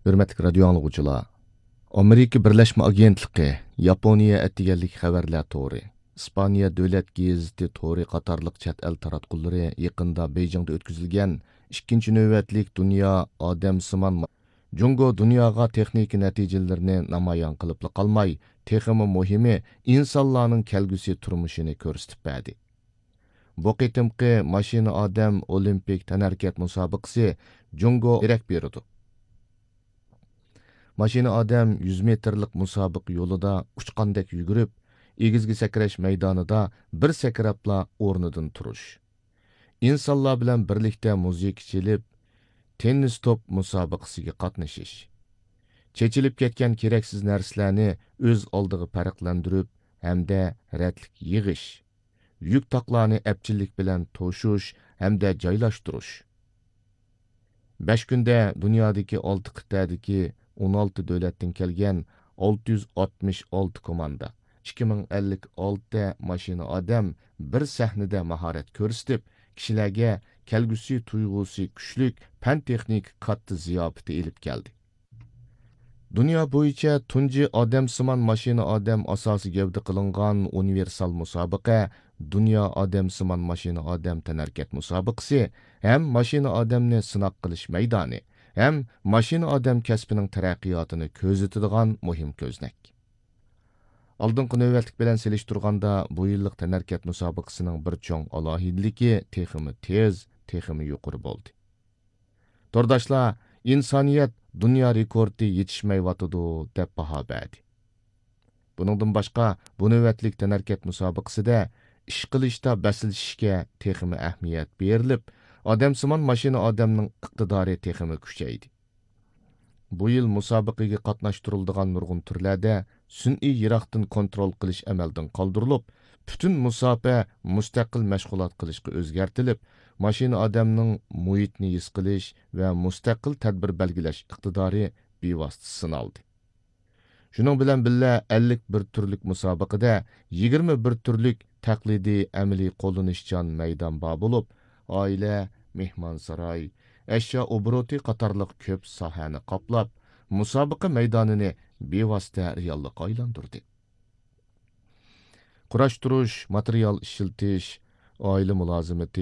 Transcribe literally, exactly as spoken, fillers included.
ھۆرمەتلىك رادىيو ئاڭلىغۇچىلار، ئامېرىكا بىرلەشمە ئاگېنتلىقى، ياپونىيە ئەتىگەنلىك خەۋەرلەر تورى، ئىسپانىيە دۆلەت گېزىتى تورى قاتارلىق چەت ئەل تاراتقۇلىرى يېقىندا بېيجىڭدا ئۆتكۈزۈلگەن ئىككىنچى نۆۋەتلىك دۇنيا ئادەمسىمان ما-، جۇڭگو دۇنياغا تېخنىكا نەتىجىلىرىنى نامايان قىلىپلا قالماي، تېخىمۇ مۇھىمى، ئىنسانلارنىڭ كەلگۈسى تۇرمۇشىنى كۆرسىتىپ بەردى. بۇ قېتىمقى ماشىنا ئادەم ئولىمپىك تەنھەرىكەت مۇسابىقىسى جۇڭگو دېرەك بېرىدۇ. ماشىنا ئادەم يۈز مېتىرلىق مۇسابىقە يولىدا ئۇچقاندەك يۈگۈرۈپ، ئېگىزگە سەكرەش مەيدانىدا بىر سەكرەپلا ئورنىدىن تۇرۇش، ئىنسانلار بىلەن بىرلىكتە مۇزىكا چېلىپ، تېننىس توپ مۇسابىقىسىگە قاتنىشىش، چېچىلىپ كەتكەن كېرەكسىز نەرسىلەرنى ئۆز ئالدىغا پەرقلەندۈرۈپ ھەمدە رەتلىك يىغىش، يۈك تاقلارنى ئەپچىللىك بىلەن توشۇش ھەمدە جايلاشتۇرۇش. بەش كۈندە دۇنيادىكى ئالتە قىتئەدىكى ئون ئالتە دۆلەتتىن كەلگەن ئالتە يۈز ئاتمىش ئالتە كوماندا، ئىككى مىڭ ئەللىك ئالتە ماشىنا ئادەم بىر سەھنىدە ماھارەت كۆرسىتىپ، كىشىلەرگە كەلگۈسى تۇيغۇسى كۈچلۈك پەن-تېخنىكا كاتتا زىياپىتى ئېلىپ كەلدى. دۇنيا بويىچە تۇنجى ئادەمسىمان ماشىنا ئادەم ئاساسىي گەۋدە قىلىنغان ئۇنىۋېرسال مۇسابىقە، دۇنيا ئادەمسىمان ماشىنا ئادەم تەنھەرىكەت مۇسابىقىسى ھەم ماشىنا ئادەمنى سىناق قىلىش مەيدانى ھەم ماشىنا ئادەم كەسپىنىڭ تەرەققىياتىنى كۆزىتىدىغان مۇھىم كۆزنەك. ئالدىنقى نۆۋەتلىك بىلەن سېلىشتۇرغاندا، بۇ يىللىق تەنھەرىكەت مۇسابىقىسىنىڭ بىر چوڭ ئالاھىدىلىكى تېخىمۇ تېز، تېخىمۇ يۇقىرى بولدى. تورداشلار، ئىنسانىيەت دۇنيا رېكورتى يېتىشمەيۋاتىدۇ، دەپ باھا بەردى. بۇنىڭدىن باشقا، بۇ نۆۋەتلىك تەنھەرىكەت مۇسابىقىسىدە ئىش قىلىشتا بەسلىشىشكە تېخىمۇ ئەھمىيەت بېرىلىپ، ئادەمسىمان ماشىنا ئادەمنىڭ ئىقتىدارى تېخىمۇ كۈچەيدى. بۇ يىل مۇسابىقىگە قاتناشتۇرۇلىدىغان نۇرغۇن تۈرلەردە سۈنئىي يىراقتىن كونترول قىلىش ئەمەلدىن قالدۇرۇلۇپ، پۈتۈن مۇساپە مۇستەقىل مەشغۇلات قىلىشقا ئۆزگەرتىلىپ، ماشىنا ئادەمنىڭ مۇھىتنى ھېس قىلىش ۋە مۇستەقىل تەدبىر بەلگىلەش ئىقتىدارى بىۋاسىتە سىنالدى. شۇنىڭ بىلەن بىللە، ئەللىك بىر تۈرلۈك مۇسابىقىدە يىگىرمە بىر تۈرلۈك تەقلىدىي ئەمەلىي قوللىنىشچان مەيدان بار بولۇپ، ئائىلە، مېھمانساراي، ئەشيا ئوبوروتى قاتارلىق كۆپ ساھەنى قاپلاپ، مۇسابىقە مەيدانىنى بىۋاسىتە رېئاللىققا ئايلاندۇردى. قۇراشتۇرۇش، ماتېرىيال ئىشلىتىش، ئائىلە مۇلازىمىتى،